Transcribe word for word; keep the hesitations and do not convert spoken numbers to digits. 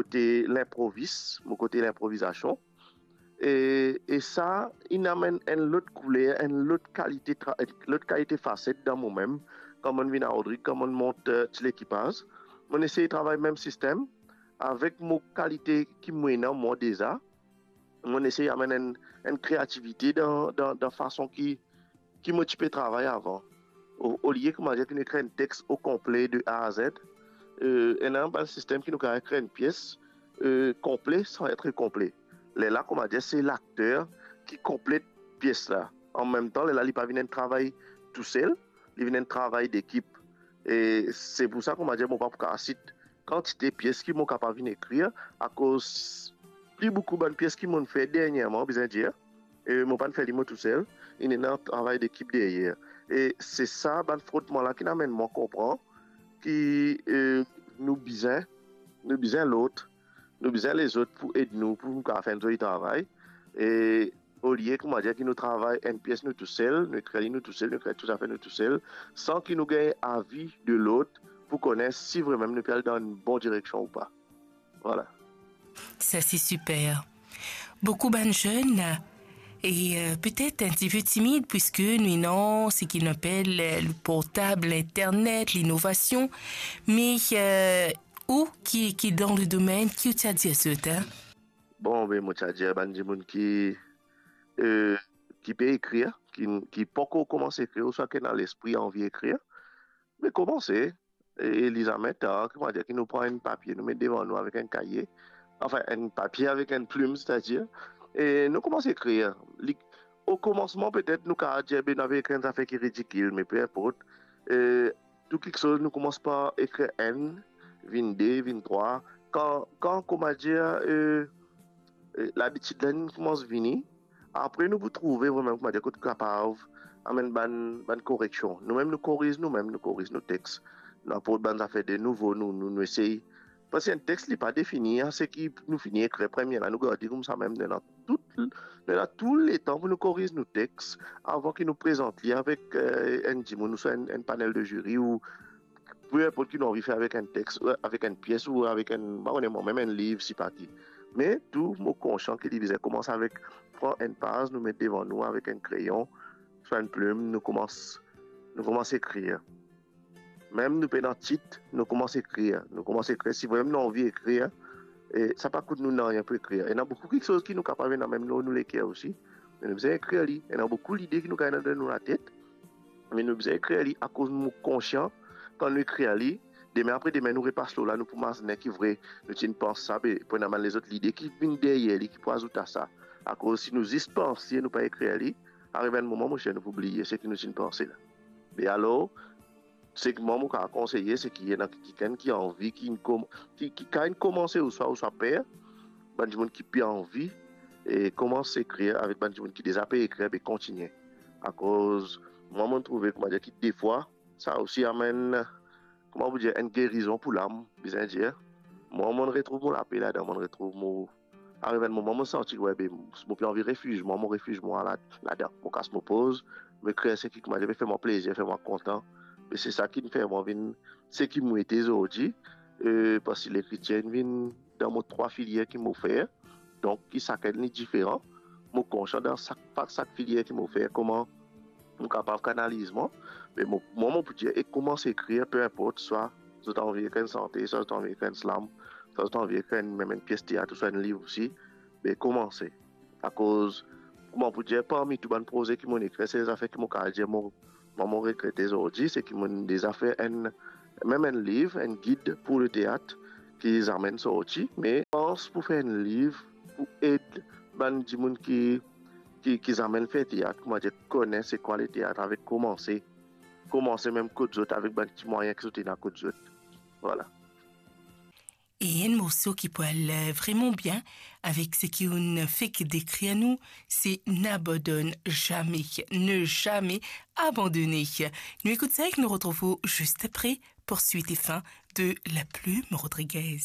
kote linprovis, mo kote linprovizasion. E, e sa, inn amenn enn lot kouler, enn lot kalite tra-, lot kalite faset dan momem. Kan mo'nn vinn a Rodrig, kan mo'nn mont, eh, Ti Lekipaz, mo'nn esey travay mem sistem, avek mo kalite ki mo ena mwa deza, mo'nn esey amenn enn, enn kreativite dan, dan, dan fason ki, ki mo ti pe travay avan. O, olie, koumadir, ki nou ekrir enn text au complet de A à Z, eh, ena bann sistem ki nou kapav ekrir enn pies, eh, konple san et konple. Lerla, koumadir, se lakter ki konplet pies la. An mem tan, lerla, li pa vinn enn travay tousel, li vinn enn travay dekip. E se pou sa, koumadir, mo pa pou kapav sit kantite pies ki mo kapav vinn ekrir, akoz pli boukou bann pies ki mo'nn fer dernyerman, bizin dir, e mo pa'nn fer li mo tousel, inn ena travay dekip deryer. E se sa, bann frotman la ki'nn amenn mwa konpran ki, eh, nou bizin, nou bizin lot, nou bizin lezot pou ed nou, pou nou kapav fer enn zoli travay. E olie, koumadir, ki nou travay enn pies nou tousel, nou ekrir li nou tousel, nou ekrir tou zafer nou tousel, san ki nou gagn avi de lot pou kone si vremem nou pe al dan enn bon direksion ou pa. Vwala. Sa, se siper. Boukou bann zenn, e, eh, petet enn tipe timid, puiske nou ena seki nou apel, eh, le portab, linternet, linovasion, me, eh, ou ki, ki dan le domenn, ki ou ti a dir zot, eh? Bon, be, mo ti a dir bann dimoun ki, eh, ki pe ekrir, ki, ki pankor koumans ekrir, ouswa ki ena lespri anvi ekrir, me koumanse, e li zame tar, koumadir, ki nou pran enn papie, nou met devan nou avek enn kaye, anfin, enn papie avek enn plim, setadir, e nou koumans ekrir. Li, o koumansman, petet, nou kapav dir, be, nou ave ekrir enn zafer ki ridikil, me pe inport. E tou kiksoz, nou koumans par ekrir enn, vinn de, vinn trwa. Kan, kan, koumadir, e, e, labitid la inn koumans vini, apre nou pou trouve vremem, koumadir, kot kapav amenn bann, bann koreksion. Noumem nou koriz noumem, nou koriz nou text. Nou aport bann zafer de nouvo, nou, nou, nou esey. Parski enn text, li pa defini a seki nou fini ekrir premie la, nou garde koumsa mem, nou ena tou, nou ena tou letan pou nou koriz nou text avan ki nou prezant li avek, eh, enn dimoun ouswa enn, enn panel de ziri ou pe inport ki nou anvi fer avek enn text, ou avek enn pies, ou avek enn, pa kone mwa, mem enn liv, sipa ki. Me tou, mo konsian ki li bizin koumans avek pran enn paz, nou met devan nou avek enn kreyon, swa enn plim, nou koumans, nou koumans ekrir. Mem nou pena tit, nou koumans ekrir. Nou koumans ekrir, si vremem nou anvi ekrir, e sa pa kout nou nanye pou ekrir. Ena boukou kiksoz ki nou kapav ena mem lor nou leker osi. Me nou bizin ekrir li. Ena boukou lide ki nou gagn dan nou latet, me nou bizin ekrir li, akoz nou konsian, kan nou ekrir li, demin apre demin nou repas lor la, nou pou mazinen ki vre, nou ti pans sa, be, pou ena bann lezot lide ki vinn deryer li, ki pou azout a sa. Akoz si nou zis panse, nou pa ekrir li, ariv enn moman, mo zer, nou pou bliye seki nou ti panse la. Be alor, seki mwa mo kapav konseye, seki ena kikenn ki anvi, ki, ki, ki kapav komanse ouswa, ouswa per, bann dimoun ki pe anvi, e koumans ekrir avek bann dimoun ki deza pe ekrir, be kontigne. Akoz mwa, mo'nn trouve, koumadir, ki defwa, sa osi amenn, kouma pou dir, enn gerizon pou lam, bizin dir. Mwa, mo'nn retrouv mo lape ladan, mo'nn retrouv mo, ariv enn moman, mo'nn santi, we, be, mo pe anvi refiz mwa, mo refiz mwa la, ladan. Mo kas mo poz, mo ekrir seki, koumadir, pe fer mwa plezir, fer mwa kontan. Be se sa ki'nn fer mwa vinn seki mo ete zordi, e, parski lekritir inn vinn dan mo trwa filier ki mo fer, donk ki sakenn li diferan. Mo konsian dan sak, pa sak filier ki mo fer, kouma mo kapav kanaliz mwa. Me mo, mwa, mo pou dir, e koumans ekrir, pe inport, swa zot anvi ekrir enn sante, swa zot anvi ekrir enn slam, swa zot anvi ekrir enn, mem enn pies teat ouswa enn liv osi, be koumanse. Akoz, kouma pou dir, parmi tou bann proze ki mo'nn ekrir, sel zafer ki mo kapav dir, mo, mwa, mo regrete zordi, seki mo'nn deza fer enn, mem enn liv, enn gid pou leteat ki zamenn sorti, me pans pou fer enn liv pou ed bann dimoun ki, ki, ki zamenn fer teat, koumadir, kone se kwa leteat, avek koumanse, koumanse mem kot zot, avek bann ti mwayin ki zot ena kot zot. Vwala. E enn morso ki pou al, eh, vreman bien avek seki ou'nn fek dekrir nou, se N'abandonne jamais, ne jamais abandonner. Nou ekout sa ek nou retrouv ou zis apre pour suite et fin de La Plume Rodriguez.